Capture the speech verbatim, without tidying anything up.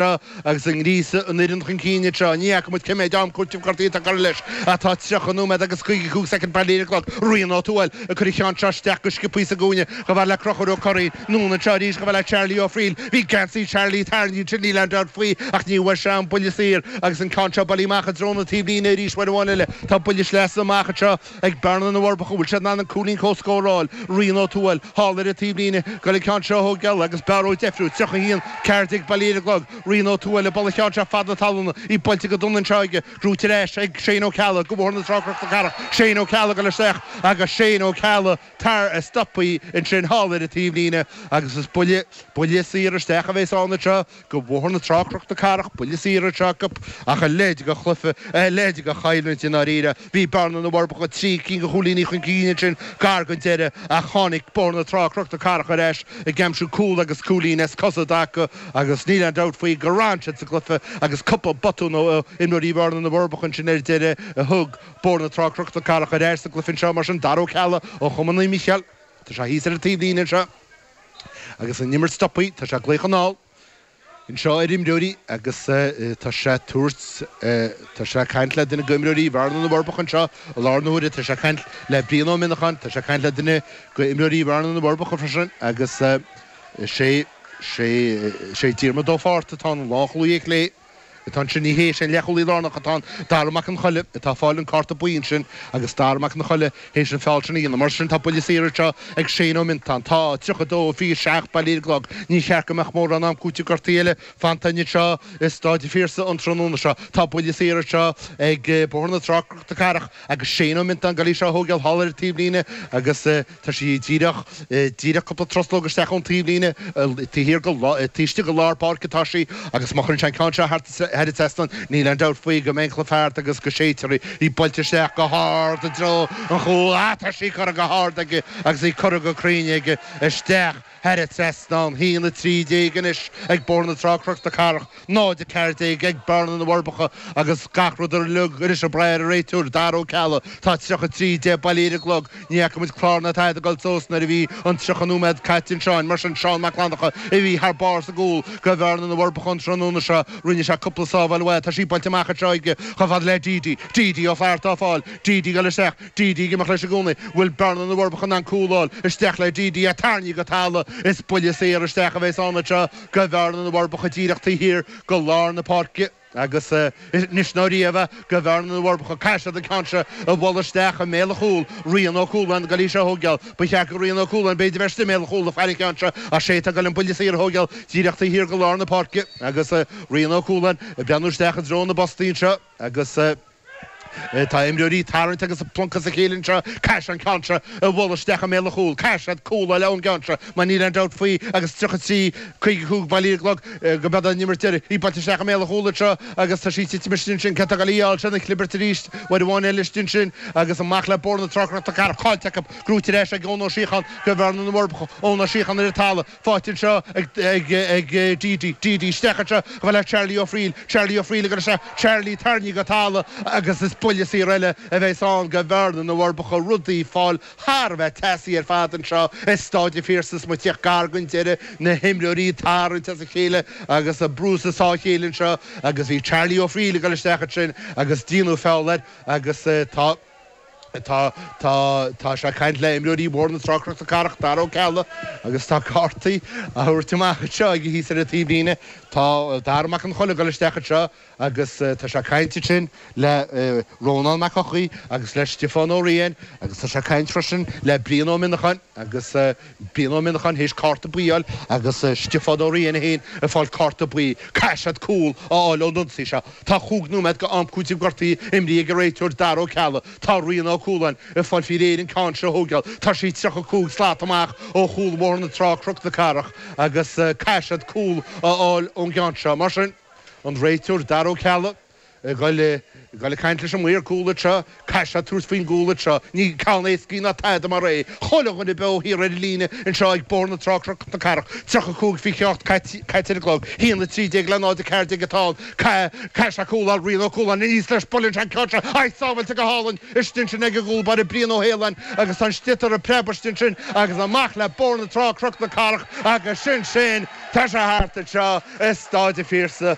Agus an ngríosadh an fhoireann chun cinn anseo. Ní fhaca muid cé mhéad am cúitimh gortaithe atá curtha leis. Tá tríocha nóiméad agus caoga cúig soicind Baile Átha Cliath. Rian Ó Tuathail ag cur an cheann seo isteach go sciobthaí sa gcúinne chomh fada le Conchúr Ó Curraoin. Anonn anseo arís chomh fada le Charlie Ó Frighil. Bhí geansaí Charlie tarraingthe ansin, níl aon dabht faoi, ach ní bhfuair sé an buille saor agus an ceann seo bailithe amach i dtreo na taobhlíne arís uair amháin eile. Tá buille sleasa amach anseo ag Bearna na bhForbacha. Bhfuil siad in ann an cúilín comhscóir a fháil? Rian Ó Tuathail thall ar an taobhlíne ag goil an ceann seo a thógáil agus Barra Ó Deifriú, tríocha a haon, ceathair déag Baile Átha Cliath. Rian Ó Tuathail ag bualadh an cheann seo fad na talún, í buailte go dona anseo aige, gnóthaithe ar ais ag Shane Ó Ceallaigh go Bóthar na Trá Cnoc na Cathrach. Shane Ó Ceallaigh ag dul isteach agus Shane Ó Ceallaigh tar stoptha ansin thall ar an taobhlíne agus is buille, buille saor isteach a bheas ann anseo go Bóthar na Trá Cnoc na Cathrach, buille saor anseo acu ach a leithéid de chluiche, a leithéid de choimhlint i ndáiríre. Bhí Bearna na bhForbacha trí cinn de chúilíní chun cinn ansin gar don deireadh ach tháinig Bóthar na Trá Cnoc na Cathrach ar ais ag aimsiú cúl agus cúilín as cosa i dtaca agus níl aon dabht faoi gur fhan siad sa gcluiche agus cúpla botún ó imreoirí Bhearna na bhForbacha ansin ar deireadh a thug Bóthar na Trá Cnoc na Cathrach ar ais sa gcluiche anseo. Mar sin, Dara Ó Ceallaigh ó Chumann Naomh Mícheál, tá sé thíos ar an taobhlíne anseo agus an imirt stoptha, tá sé ag glaoch anall anseo ar imreoirí agus tá sé ag tabhairt, tá sé ag caint le duine d'imreoirí Bhearna na bhForbacha anseo i láthair na huaire, tá sé ag caint le Brian Ó Mionnacháin, tá sé ag caint le duine d'imreoirí Bhearna na bhForbacha freisin agus sé, sé, sé Diarmuid Ó Fátharta atá ann, an lánchúlaí ar chlé. Atá ansin, ní hé, sé an leathchúlaí lárnach atá ann, Dara Mac an Choille, atá ag fáil an cárta buí ansin agus Dara Mac an Choille théis an feall sin a dhéanamh. Mar sin, tá buille saor anseo ag Shane Ó Mintáin. Tá tríocha dó, fiche seacht Baile Átha Cliath. Ní cheart go mbeadh mórán am cúitimh gortaithe eile fanta anseo i Stáid an Phiarsaigh an tráthnóna seo. Tá buille saor anseo ag Bóthar na Trá, Cnoc na Cathrach agus Shane Ó Mintáin ag goil í seo a thógáil thall ar an taobhlíne agus tá sí díreach, díreach cúpla truslóg isteach ón taobhlíne, taobh thiar de, taobh istigh de lár páirce atá sí agus má chuireann sé an ceann seo thar an trasnán, níl aon dabht faoi go mbeidh an cluiche thart agus go séidfear í. Í buailte isteach go hard i dtreo an chúil. Ah, tá sí curtha go hard aige agus í curtha go cruinn aige isteach thar an trasnán. Haon a trí déag anois ag Bóthar na Trá Cnoc na Cathrach, náid a ceathair déag ag Bearna na bhForbacha agus gach rud uilig anois ag brath ar an réiteoir, Dara Ó Ceallaigh. Tá tríocha trí deich Baile Átha Cliath. Ní fhaca muid clár ná tada ag dul suas nuair a bhí an tríocha nóiméad caite anseo. Mar sin, Seán Mac Fhlannchadha a bhí thar barr sa gcúl do Bhearna na bhForbacha an tráthnóna seo. Rinne sé cúpla sábháil mhaith. Tá sí buailte amach anseo aige chomh fada le Deedy. Deedy Ó Flatharta á fáil. Deedy ag dul isteach. Deedy ag imeacht leis i gcónaí. Bhfuil Bearna na bhForbacha in ann cúl a fháil? Isteach le Deedy é tarraingthe go talamh. Is buille saor isteach a bheas ann anseo do Bhearna na bhForbacha díreach taobh thiar de lár na páirce. Agus anois ná riamh do Bhearna na bhForbacha, caithfidh siad an ceann seo a bhualadh isteach i mbéal an chúil. Rian Ó Cualáin ag goil í seo a thógáil. Ba cheart do Rian Ó Cualáin b'fhéidir bheith istigh i mbéal an chúil ag faire an cheann seo ach sé atá ag goil an buille saor a thógáil díreach taobh thiar de lár na páirce. Agus Rian Ó Cualáin ag breathnú isteach i dtreo na bpostaí anseo agus. Tá imreoirí ag tarraingt agus ag pluncadh as a chéile anseo. Caithfidh sé an ceann seo a bhualadh isteach i mbéal an chúil. Caithfidh siad cúl a fháil ón gceann seo mar níl aon dabht faoi agus tríocha trí, caoga cúig Baile Átha Cliath go mbeidh an imirt deiridh. Í buailte isteach i mbéal an chúil anseo agus tá sí ag titim istigh ansin. Cé atá ag goil í a fháil? Sin an chlibirt arís uair amháin eile istigh ansin agus amach le Bóthar na Trá Cnoc na Cathrach. Caillte acu. Gnóthaithe ar ais ag Eoin Ó Síocháin do Bhearna na bhForbacha. Eoin Ó Síocháin ar an talamh. Faighte anseo ag Deedy. Deedy isteach anseo chomh fada le Charlie Ó Frighil. Charlie Ó Frighil ag dul isteach. Charlie tarraingthe go talamh agus is buille saor eile a bheas ann do Bhearna na bhForbacha. Rudaí ag fáil thar a bheith teasaí ar fad anseo i Stáid an Phiarsaigh is muid ag tíocht gar don deireadh. Na himreoirí ag tarraingt as a chéile agus ag brú is ag sá a chéile anseo agus bhí Charlie Ó Frighil ag dul isteach ansin agus déanadh feall air agus tá Tá, tá, tá sé ag caint le imreoirí Bhóthar na Trá Cnoc na Cathrach, Dara Ó Ceallaigh, agus tá cártaí á thabhairt amach anseo aige thíos ar an taobhlíne. Tá Dara Mac an Cholla ag dul isteach anseo agus tá sé ag caint ansin le Rónán Mac Eochaidh agus le Stiofán Ó Riain agus tá sé ag caint freisin le Brian Ó Mionnacháin agus Brian Ó Mionnacháin théis cárta buí a fháil agus Stiofán Ó Riain féin ag fáil cárta buí. Caithfidh siad cúl a fháil ón ionsaí seo. Tá chúig nóiméad go am cúitimh gortaithe imrithe ag an réiteoir Dara Ó Ceallaigh. Tá Rian Ó Cualáin ag fáil faoi réir an ceann seo a thógáil. Tá sí tríocha cúig slat amach ó chúl Bhóthar na Trá, Cnoc na Cathrach agus caithfidh siad cúl a fháil ón gceann seo. Mar sin, an réiteoir Dara Ó Ceallaigh Ag dul ag caint leis an maor cúil anseo, caithfidh sé tabhairt faoin gcúl anseo, ní ceann éascaí ná tada mar é. Chuile dhuine beo thiar ar an líne anseo ag Bóthar na Trá, Cnoc na Cathrach, tríocha cúig faoi hocht caite ar an gclog, haon a trí déag le náid a ceathair déag atá ann. Caithfidh sé cúl a fháil, Rian Ó Cualáin aníos leis, buaileann sé an ceann seo, ai, sábháilte go hálainn istigh ansin ag an gcúl báire Brian Ó hAoláin agus tá an sliotar ag preabadh istigh ansin agus amach le Bóthar na Trá, Cnoc na Cathrach agus sin sin, tá sé thart anseo i Staid an Phiarsaigh.